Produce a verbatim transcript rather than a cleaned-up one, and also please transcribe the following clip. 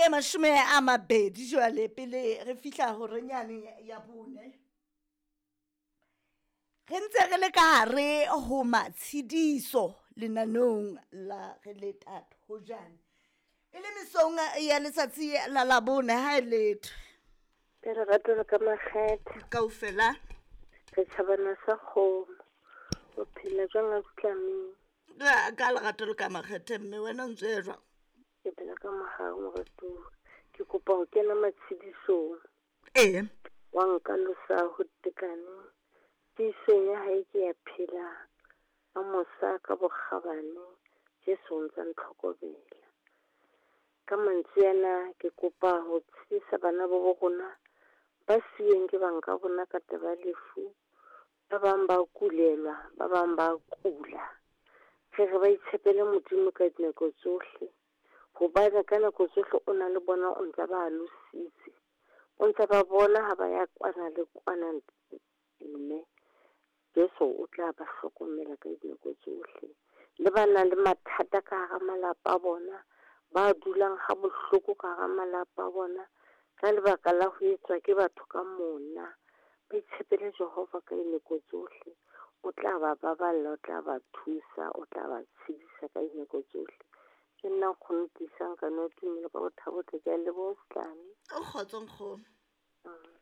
mashome a mabedi jwale pele re fihla horenyane ya bone. Re ntse re le ka hare ho matshediso lenaneong la re le thojane. E le mesong ya letsatsi la Labone ha e letho. Ka lerato le ka makgethe. Kaofela. Re tjhabana sa kgomo. O phela jwang a Tlameng? Ka ka lerato le ka makgethe mme wena o ntse jwang? Ke phela ka mohau moratuwa. Ke kopa ho kena matshedisong. Ee. Wa nka losa ho tekane. Tiisong ya hae ke ya phela. Ka mosa ka bokgabane. Jesu o ntsa ntlhokomela. Ka mantswe ana ke kopa ho tshedisa bana ba bo rona ba siuweng ke bang ka bona ka taba ya lefu. Ba bang ba kulelwa, ba bang ba kula. Re re ba itshepele Modimo ka dinako tsohle. Hobane ka nako tsohle o na le bona, o ntsa ba alositse. O ntsa ba bona ha ba ya kwana le kwana mme Jesu o tla ba hlokomela ka dinako tsohle. Le ba nang le mathata ka hara malapa a bona, ba dulang ha bohloko ka hara malapa a bona ka lebaka la ho etswa ke batho ka mona. Ba itshepele Jehova ka dinako tsohle. O tla ba baballa, o tla ba thusa, o tla ba tshedisa ka dinako tsohle. Ke nna nkgono Tiisang ka no tumelo ka bothabo tle ke a leboha Setlane. O kgotso nkgono. Mm.